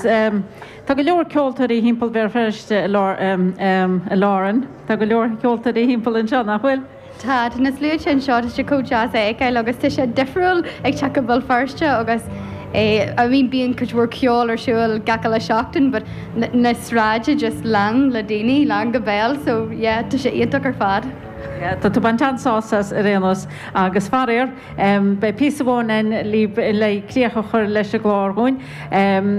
Tá go leor ceoltóirí thimpeall Bhéal Feirste a Lauren. Tá go leor ceoltóirí thimpeall anseo, nach bhfuil? Tá, tá na sluaite anseo, tá sé chomh deas a fheiceáil agus tá sé difriúil ag teacht go Béal Feirste agus I mean bíonn cuid mhór ceol ar siúl gach uile seachtain but na sráide just lán le daoine, lán go béal so yeah tá sé iontach ar fad. Yeah, tá tú ag baint an-sásamh as ar aon nós agus faraor beidh píosa amháin againn libh le críoch a chur leis an gclár dhúinn.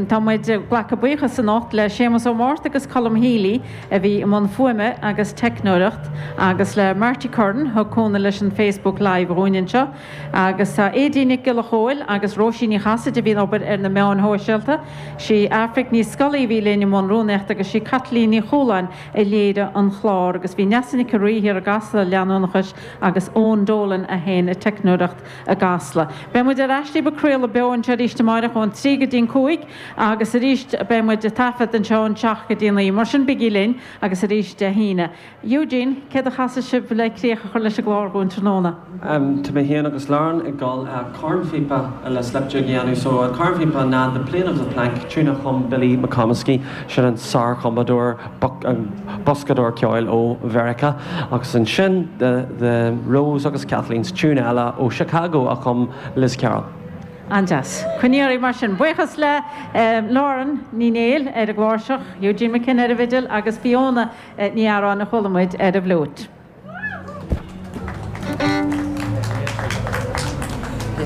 Tá muid ag glacadh buíochas anocht le Séamus Ó Márta agus Colm Healy a bhí i mbun fuaime agus teicneoireacht agus le Marty Curran thug cúnamh leis an Facebook Live dhúinn anseo agus tá Aedín Nic Giolla Chóill agus Róisín Ní Chasaide a bhí ag obair ar na meáin shóisialta. Sí Aifric Ní Scolaí a bhí linn i mbun rúnaíochta agus sí Caitlín Ní Chualáin a léirigh an clár agus bhí Neasa Nic an Rí thiar i gCasla leanúnachais agus Eoin Dolan a sheinn an teicneoireacht i gCasla. Beidh muid ar ais libh ag craoladh beo anseo arís amáireach ón 3 go dtí an 5 agus arís beidh muid ag taifead anseo ón 7 go dtí an 9. Mar sin bígí linn agus arís Dé hAoine. Eugene, céard a chasfaidh sibh le críoch a chur leis an gclár dhúinn tráthnóna? Tá mé féin agus Lauren ag dul cornphíopa le slip jig a dhéanamh. So an cornphíopa ná The Plane of the Plank, tune a chum Billy McComiskey, sin an sár-chumadóir, boscadóir ceoil ó Mheiriceá. Agus ansin The The Rose agus Kathleen's tune eile ó Chicago a chum Liz Carroll. An-deas. Coinnigh oraibh mar sin. Buíochas le Lauren Ní Néill ar an gcláirseach, Eugene McKenna ar an bhfidil agus Fiona Ní Earáin a chuala muid ar an bhfliúit.